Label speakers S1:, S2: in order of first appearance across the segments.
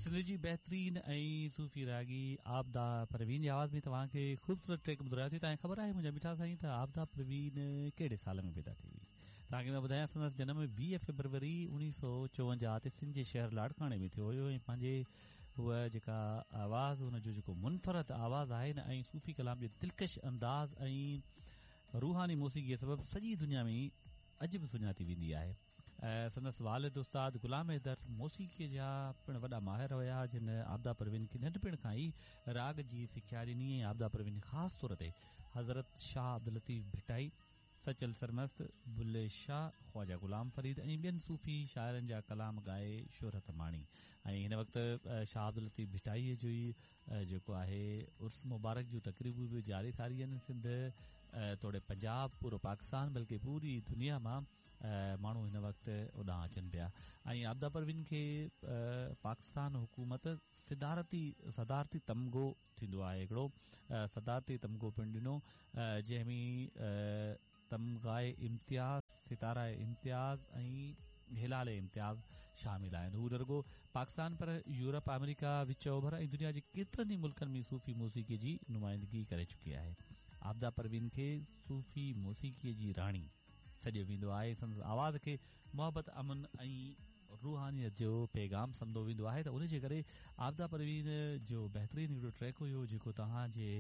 S1: سنڌ جي بهترين ۽ صوفي راڳي عابده پروين جي آواز ۾ توهان کي خوبصورت ٽريڪ ٻڌرايوسين. توهان کي خبر آهي منهنجا مٺا سائين ته عابده پروين ڪهڙي سال ۾ پيدا ٿي هئي؟ توهان کي مان ٻڌايان سندس جنم 20 فيبروري 1954 تي سنڌ جي شهر لاڙڪاڻي ۾ ٿيو هيو ۽ پنهنجي هوء جيڪا آواز هن جو جيڪو منفرد آواز آهي نه ۽ صوفي ڪلام جي دلڪش انداز ۽ روحاني موسيقي سبب سڄي دنيا ۾ اڄ به سڃاتي ويندي آهي. سندس والد استاد غلام حيدر موسيقيء جا پڻ وڏا ماهر هيا، جن عابده پروين کي ننڍپڻ کان ئي راڳ جي سکيا ڏني ۽ عابده پروين خاص طور تي حضرت شاهه عبداللطيف ڀٽائي، سچل سرمست، بلي شاهه، خواجه غلام فريد ۽ ٻين صوفي شاعرن جا ڪلام ڳائي شهرت ماڻي ۽ هن وقت شاهه عبداللطيف ڀٽائيء جو ئي جيڪو آهي عرس مبارڪ جون تقريبون به جاري ساري آهن سنڌ توڙي پنجاب پورو پاڪستان بلڪه پوري دنيا مان ماڻهو هن وقت اوڏانهن اچن پيا ۽ عابده پروين کي پاڪستان حڪومت صدارتي صدارتي تمغو ٿيندو آهي هڪڙو صدارتي تمغو پڻ ڏنو جنهن ۾ تمغه امتياز ستاره امتياز ۽ هلال امتياز شامل آهن هو نه رڳو پاڪستان پر يورپ آمريڪا وچ اوڀر ۽ دنيا جي ڪيترن ئي ملڪن ۾ صوفي موسيقي جي نمائندگي ڪري چڪي آهي عابده پروين کي صوفي موسيقي جي راڻي سڏيو ويندو آهي سندس آواز کي محبت امن ۽ روحانيت جو پيغام سمجهيو ويندو آهي ته ان جي ڪري عابده پروين جو بهترين هڪڙو ٽريڪ هيو جيڪو توهان جي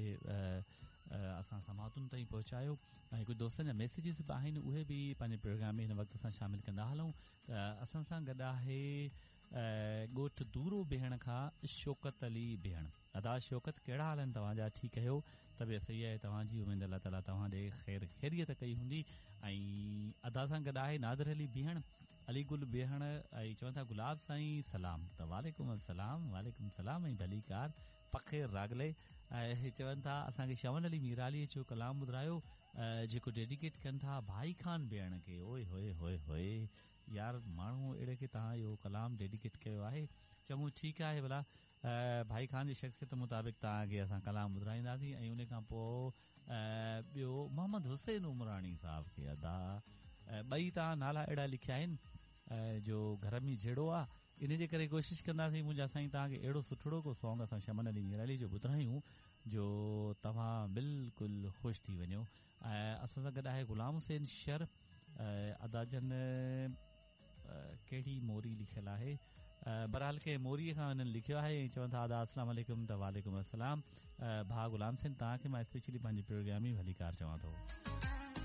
S1: اسان سماعتن تائين پهچايو ۽ ڪجهه دوستن جا ميسيجز به آهن اهي به پنهنجي پروگرام ۾ هن وقت اسان شامل ڪندا هلون ته اسان سان گڏ آهي ڳوٺ دورو بيهڻ کان شوڪت علي بيهڻ ادا شوڪت ڪهڙا حال آهن توهان جا ٺيڪ آهيو طبيعت صحيح آهي توهان جي اميد الله تعالي توهان ڏي خير خيريت ڪئي هوندي ۽ ادا سان گڏ آهي نادر علي بيهڻ علي گل بيهڻ ۽ چون ٿا گلاب سائين سلام ته وعليڪم السلام وعليڪم السلام ۽ ڀليڪار پخير راغلي ۽ چون ٿا اسان کي شمن علي ميرالي جو ڪلام ٻڌرايو جيڪو ڊيڊيڪيٽ ڪن ٿا ڀائي خان بيهڻ کي اوئي هوئي هوئي هوئي يار ماڻهو اهڙي کي توهان اهو ڪلام ڊيڊيڪيٽ ڪيو آهي چڱو ٺيڪ آهي ڀلا ڀائي خان جي شخصيت مطابق توهان کي اسان ڪلام ٻڌرائينداسين ۽ ان کان پوء ٻيو محمد حسين عمراڻي صاحب کي ادا ٻئي توهان نالا اهڙا لکيا آهن جو گهر ۾ جهيڙو آ ان جي ڪري ڪوشش ڪنداسين منهنجا سائين توهان کي اهڙو سٺڙو ڪو سانگ اسان شمن علي ميرالي جو ٻڌرايون جو توهان بلڪل خوش ٿي وڃو ۽ اسان سان گڏ آهي غلام حسين شر ادا جن ڪهڙي موري لکيل آهي بهرحال ڪنهن موري کان هنن لکيو آهي ۽ چون ٿا ادا السلام عليڪم ته وعليڪم السلام ڀاء غلام حسين توهان کي مان اسپيشلي پنهنجي پروگرام ۾ ڀليڪار چوان ٿو.